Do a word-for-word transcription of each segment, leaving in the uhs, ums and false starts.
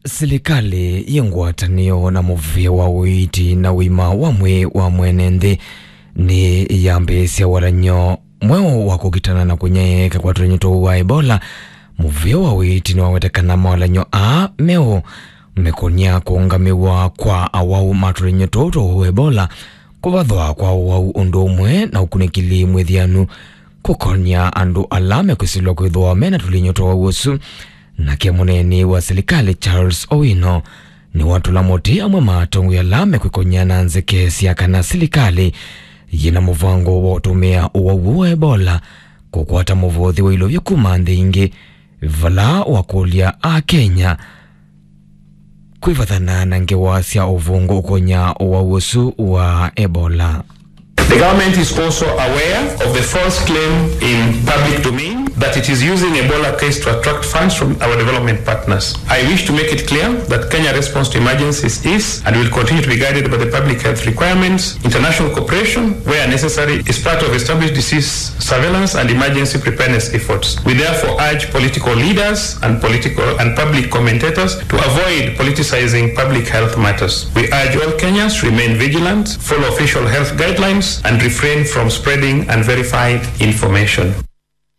Silikalĩ yĩ ngwatanĩo na mũvĩa wa ũiiti na ũima wa mwĩĩ wa mwene nthĩ nĩyambĩĩsya walany'o mweũ wa kũkitana na kũnyaĩĩka kwa tũlany'o tũu wa Ebola. Mũvĩa wa ũiiti nĩwaweta kana mawalany'o aa meũ mekonya kũũngamĩwa kwa awau ma tũlany'o tũu twa Ebola, kũvathwa kwa ũwau ũndũ ũmwe na ũkunĩkĩli mwĩthianu kũkonya andũ ala mekwĩsĩlwa kwĩthĩwa me na tũlany'o twa ũwau ũsu. Nake mũneeni wa silikalĩ Charles Owino nĩwatũla mũtĩ amwe ma atongoi ala mekwĩkony'a na nzeke sya kana silikalĩ yĩ na mũvango wa ũtũmĩa ũwau wa Ebola kũkwata mũvothi wa ilovya kuma nthĩ ingĩ, vala wakũlya Akenya kwĩvathana na ngewa sya ũvũngũ ũkonya ũwau ũsu wa Ebola. The government is also aware of the false claim in public domain that it is using Ebola case to attract funds from our development partners. I wish to make it clear that Kenya's response to emergencies is and will continue to be guided by the public health requirements. International cooperation, where necessary, is part of established disease surveillance and emergency preparedness efforts. We therefore urge political leaders and political and public commentators to avoid politicizing public health matters. We urge all Kenyans to remain vigilant, follow official health guidelines, and refrain from spreading unverified information.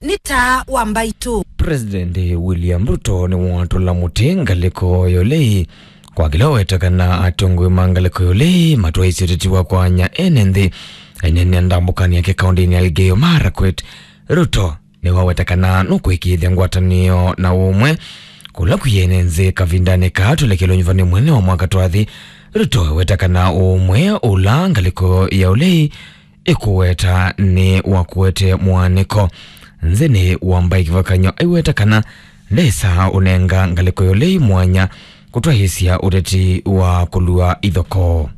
Nĩ taa wa mbaitũ. President William Ruto nĩwatũla mũtĩ ngalĩko ya ũlei kwa kĩla ũweta kana atongoi ma ngalĩko ya ũlei matwaĩsye ũteti wa kwanya ene nthĩ. Aineenea ndambũkanĩ yake kaũndĩnĩ ya Elgeyo Marakwet, Ruto nĩwaweta kana nũkwĩkĩĩthya ngwatanĩo na ũmwe kũla kwĩ ene nthĩ kavindanĩ kaa tũlekelwe nyuvanĩ mwene wa mwaka twathi. Ruto eweta kana ũmwe ũla ngalĩko ya ũlei ĩkũweta nĩ wa kũete mũanĩko nthĩnĩ wa mbaĩ kĩvakanyo. Aiweta kana ndesa ũnenga ngalĩko ya ũlei mwanya kũtwaĩĩsya ũteti wa kũlua ithokoo.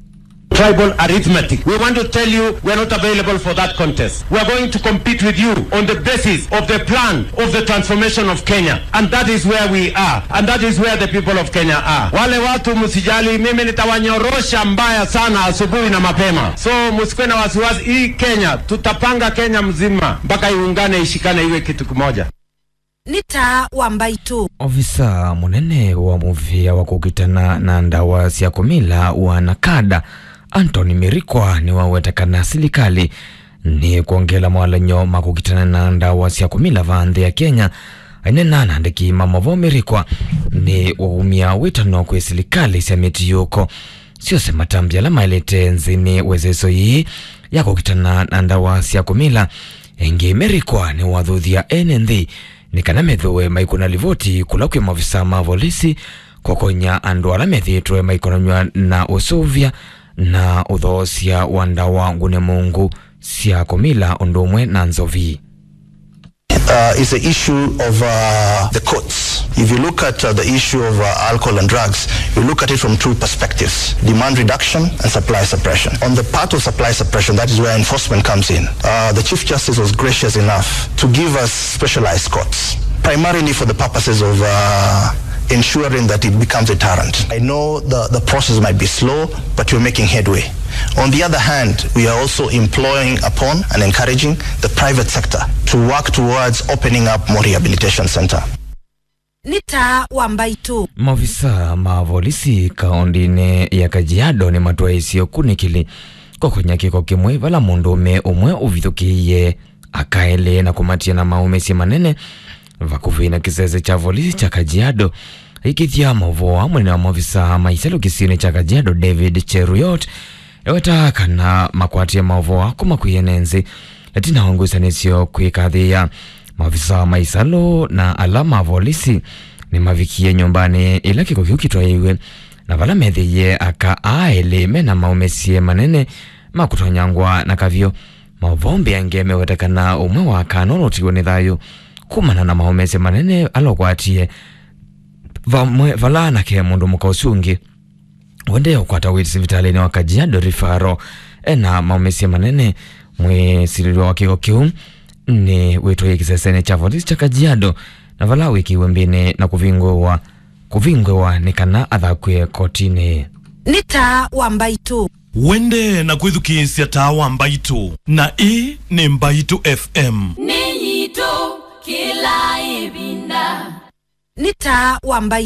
Tribal arithmetic. We want to tell you we are not available for that contest. We are going to compete with you on the basis of the plan of the transformation of Kenya. And that is where we are. And that is where the people of Kenya are. Wale watu msijali, mimi nitawanyorosha mbaya sana asubuhi na mapema. So, msikuwe na wasiwasi, hii Kenya, tutapanga Kenya mzima mpaka iungane, ishikane, iwe kitu kimoja. Nĩ taa wa mbaitũ. Ofisa mũnene wa mũvĩa wa kũkitana na ndawa sya kũmila wa NACADA, Anthony Mirikwa, nĩwaweta kana silikalĩ nĩ kwongela mawalany'o ma kũkitana na ndawa sya kũmila va nthĩ ya Kenya. Aineena na andĩki ma maũvoo, Mirikwa nĩwaumya wĩtano kwĩ silikalĩ sya mĩtiũko syose matambya ala maĩlĩte nthĩnĩ wa ĩseso yĩĩ ya kũkitana na ndawa sya kũmila. Ĩngĩ, Mirikwa nĩwathuthya ene nthĩ nĩ kana methĩwe maikũna livoti kũla kwĩ maofisa ma volisi kũkonya andũ ala methĩĩtwe maikonanw'a na ũseũvya na ũthoosya wa ndawa ngune mũungu sya kũmila ũndũ ũmwe na nzovi. Uh, is the issue of uh, the courts. If you look at uh, the issue of uh, alcohol and drugs, you look at it from two perspectives: demand reduction and supply suppression. On the part of supply suppression, that is where enforcement comes in. Uh, the Chief Justice was gracious enough to give us specialized courts, primarily for the purposes of uh, ensuring that it becomes a deterrent. I know the, the process might be slow, but we're making headway. On the other hand, we are also employing upon and encouraging the private sector to work towards opening up more rehabilitation center. Nĩ taa wa mbaitũ. Maofisa ma volisi kaũndĩnĩ ya Kajiado nĩmatwaĩsye ũkunĩkĩli kũkonya kĩko kĩmwe vala mũndũũme ũmwe ũvithũkĩie aka elĩ na kũmatia na maũmĩsye manene vakuvĩ na kĩsese kya volisi kya Kajiado. Aikĩthya maũvoo aa, mũnene wa maofisa ma isalũ kĩsionĩ kya Kajiado, David Cheruiyot, eweta kana makwatie maũvoo aa kuma kwĩ ene nthĩ ĩtina wa ngusanĩsyo kwĩkathĩĩa. Maofisa ma isalũ na ala ma volisi nĩmavikie nyũmbanĩ ĩla kĩko kĩu kĩtwaĩiwe, na vala methĩie aka aa elĩ me na maũmĩsye manene ma kũtonyangwa na kavyũ. Maũvoo mbeange meweta kana ũmwe wa aka ana ũla ũtiwe nĩ thayũ kumana na maũmĩsye manene ala ũkwatie vamwe vala anake mũndũ mũka ũsu ũngĩ ũendee ũkwata ũiiti sivitalĩnĩ wa Kajiado Referral ena maũmĩsye manene. Mwĩsilĩlwa wa kĩko kĩu nĩ wĩtwaie kĩsesenĩ kya volisi kya Kajiado, na vala wĩkĩiwe mbĩnĩ na kũvingũĩwa, kũvingũĩwa nĩ kana athakw'e kotinĩ. Nĩ taa wa mbaitũ. Wende na kwĩthukĩĩsya taa wa mbaitũ, na ĩĩ nĩ Mbaitũ F M. Nĩ yitũ kĩla ĩvinda. Nĩ taa wa mbaitũ.